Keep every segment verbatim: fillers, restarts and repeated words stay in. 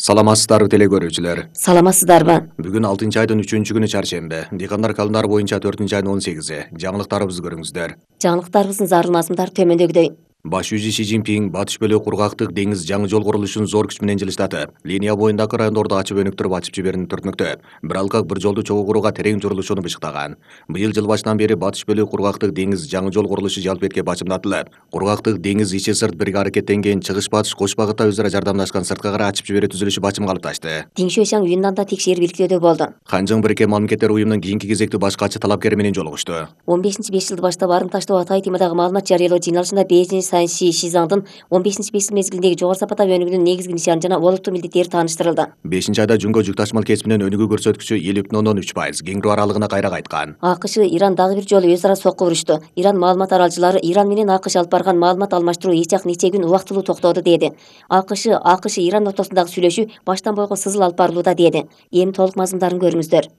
Саламатсыздарбы теле көрүүчүлөр. Саламатсыздарбы? Бүгүн алтынчы айдын үчүнчү күнү чаршембе. Дыйкандар календары боюнча төртүнчү айдын он сегизи. Жаңылыктарыбызды көрүңүздөр. Жаңылыктарыбыздын зарыл мазмундары төмөндөгүдөй. Баш жүзү Си Цзиньпин батыш бөлүк кургактык деңиз жаңы жол курулушун зор күч менен жылыштатып, линия боюндагы райондорду ачып өнүктүрүп ачып жиберүүнү түртмөктө. Бир алкак бир жолду чогуу курууга терең журулушуну бышыктаган. Быйыл жыл башынан бери батыш бөлүк кургактык деңиз жаңы жол курулушу жалпы этке бачымдатылып, кургактык деңиз ичи сырт бирге аракеттенген чыгыш батыш кош багытта өзара жардамдашкан сырткы кара ачып жиберүү түзүлүшү бачым калыпташты. Дин Шуйшаң Юннанда текшерүү иликтөөдө болду. Ханжың Бириккен Мамлекеттер уюмунун кийинки кезектүү баш катчы талапкери менен жолугушту. он бешинчи беш жылды баштап арым таштоо Атай темадагы маалымат жарыялоо жыйналышында Бейжин Санши Шизаңдын он бешинчи беш жыл мезгилиндеги жогору сапаттагы өнүгүүнүн негизги нишаны жана олуттуу милдеттери тааныштырылды. бешинчи айда жүнгө жүк ташымал кесибинен өнүгүү көрсөткүчү элүү бүтүн ондон үч пайыз кеңирүү аралыгына кайра кайткан. АКШ Иран дагы бир жолу өз ара сокку урушту. Иран маалымат аралчылары Иран менен АКШ алып барган маалымат алмаштыруу эч жак нече күн убактылуу токтоду деди. АКШ АКШ Иран ортосундагы сүйлөшүү баштан бойго сызыл алып барылууда деди. Эми толук мазмундарын көрүңүздөр.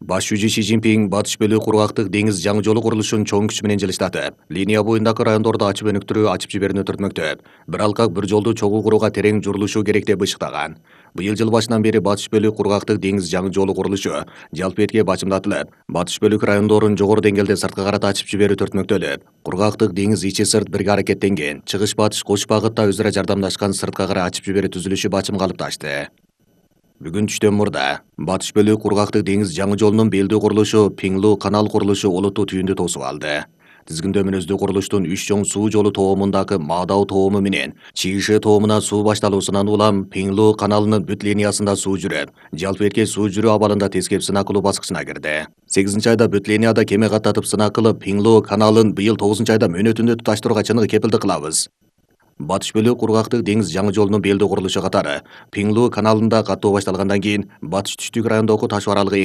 Баш жүзү Си Цзиньпин батыш бөлүк кургактык деңиз жаңы жолу курулушун чоң күч менен жылыштатып, линия боюндагы райондорду ачып өнүктүрүү ачып жиберүүнү түртмөктө. Бир алкак бир жолду чогуу курууга терең журулушу керек деп бышыктаган. Быйыл жыл башынан бери батыш бөлүк кургактык деңиз жаңы жолу курулушу жалпы этке бачымдатылып, батыш бөлүк райондорун жогору деңгээлде сырткы карата ачып жиберүү түртмөктөлүп, кургактык деңиз ичи сырт бирге аракеттенген чыгыш батыш кош багытта өзара жардамдашкан сырткы кара ачып жиберүү түзүлүшү бачым калыпташты. Бүгүн түштөн мурда батыш бөлүк кургактык деңиз жаңы жолунун белдүү курулушу Пиңлу канал курулушу олуттуу түйүндү тосуп алды. Тизгиндөө мүнөздүү курулуштун үч чоң суу жолу тоомундагы Маадау тоому менен Чийши тоомуна суу башталуусунан улам Пиңлу каналынын бүт линиясында суу жүрөт, жалпы этке суу жүрүү абалында тескеп сынак кылуу баскычына кирди. сегизинчи айда бүт линияда кеме каттатып сынак кылып, Пиңлу каналын быйыл тогузунчу айда мөөнөтүндө туташтырууга чыныгы кепилдик кылабыз. Батыш бөлүк кургактык деңиз жаңы жолунун белдүү курулушу катары Пиңлу каналында каттоо башталгандан кийин батыш түштүк райондогу таш аралыгы